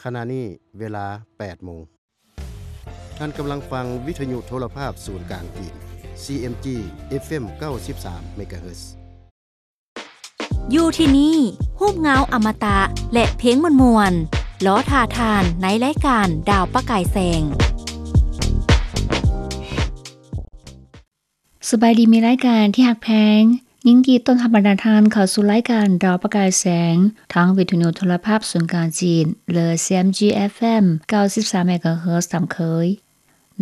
ຂະນະນີ້ເວລາແປດໂມງ. ທ່ານກຳລັງຟັງວິທະຍຸໂທລະພາບສູນກາງຈີນ ຊີເອັມຈີ ເອັຟເອັມ ເກົ້າສິບສາມ ເມກາເຮີດ. ຢູ່ທີ່ນີ້ ຮູບເງົາອະມະຕະ ແລະ ເພງມ່ວນໆ ລໍຖ້າທ່ານໃນລາຍການດາວປະກາຍແສງ. ສະບາຍດີມິດລາຍການທີ່ຮັກແພງ, ຍິນດີຕ້ອນຮັບບັນດາທ່ານເຂົ້າສູ່ລາຍການດາວປະກາຍແສງ ທາງວິທະຍຸໂທລະພາບສູນກາງຈີນ ຫຼື ຊີເອັມຈີ ເອັຟເອັມ ເກົ້າສິບສາມ ເມກາເຮີດຕາມເຄີຍ.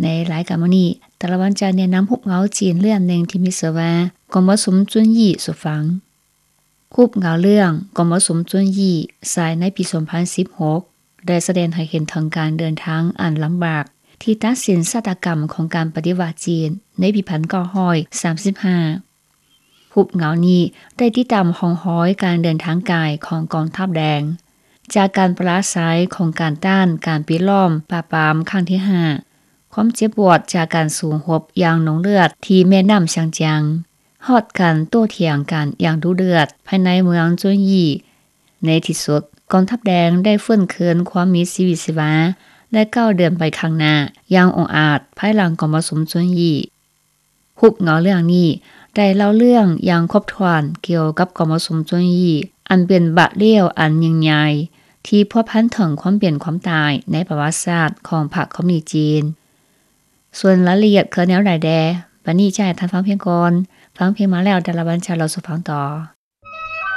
ໃນລາຍການມື້ນີ້ ຕາລະວັນຈະແນະນຳຮູບເງົາຈີນເລື່ອງໜຶ່ງທີ່ມີຊື່ວ່າ ກອງປະຊຸມຈຸນຢີ້ສູ່ຟັງ. ຮູບເງົາເລື່ອງກອງປະຊຸມຈຸນຢີ້ ສາຍໃນປີສອງພັນສິບຫົກ ໄດ້ສະແດງໃຫ້ເຫັນເຖິງການເດີນທາງອັນລຳບາກ ທີ່ຕັດສິນຊະຕາກຳຂອງການປະຕິວັດຈີນໃນປີພັນເກົ້າຮ້ອຍສາມສິບຫ້າ. ຮູບເງົານີ້ໄດ້ຕິດຕາມຮ່ອງຮອຍການເດີນທາງກາຍຂອງກອງທັບແດງ, ຈາກການປະລາໄຊຂອງການຕ້ານການປິດລ້ອມປາບປາມຄັ້ງທີຫ້າ, ຄວາມເຈັບປວດຈາກການສູ້ຮົບຢ່າງນົງເລືອດທີ່ແມ່ນ້ຳຊຽງຈຽງ, ຮອດການໂຕ້ຖຽງກັນຢ່າງດຸເດືອດພາຍໃນເມືອງຈຸນຢີ້. ໃນທີ່ສຸດ, ກອງທັບແດງໄດ້ຟື້ນຄືນຄວາມມີຊີວິດຊີວາ ແລະ ກ້າວເດີນໄປຂ້າງໜ້າຢ່າງອົງອາດພາຍຫຼັງກອງປະຊຸມຈຸນຢີ້. ຮູບເງົາເລື່ອງນີ້ໄດ້ເລົ່າເລື່ອງຢ່າງຄົບຖ້ວນກ່ຽວກັບກອງປະຊຸມຈຸນຢີ້ ອັນເປັນບາດລ້ຽວອັນຍິ່ງໃຫຍ່ ທີ່ພົວພັນເຖິງຄວາມເປັນຄວາມຕາຍໃນປະຫວັດສາດຂອງພັກຄອມມູນິດຈີນ. ສ່ວນລາຍລະອຽດຄືແນວໃດແດ່, ບັດນີ້ຈະໃຫ້ທ່ານຟັງເພງກ່ອນ. ຟັງເພງມາແລ້ວ, ດາລາວັນຈະເລົ່າສູ່ຟັງຕໍ່.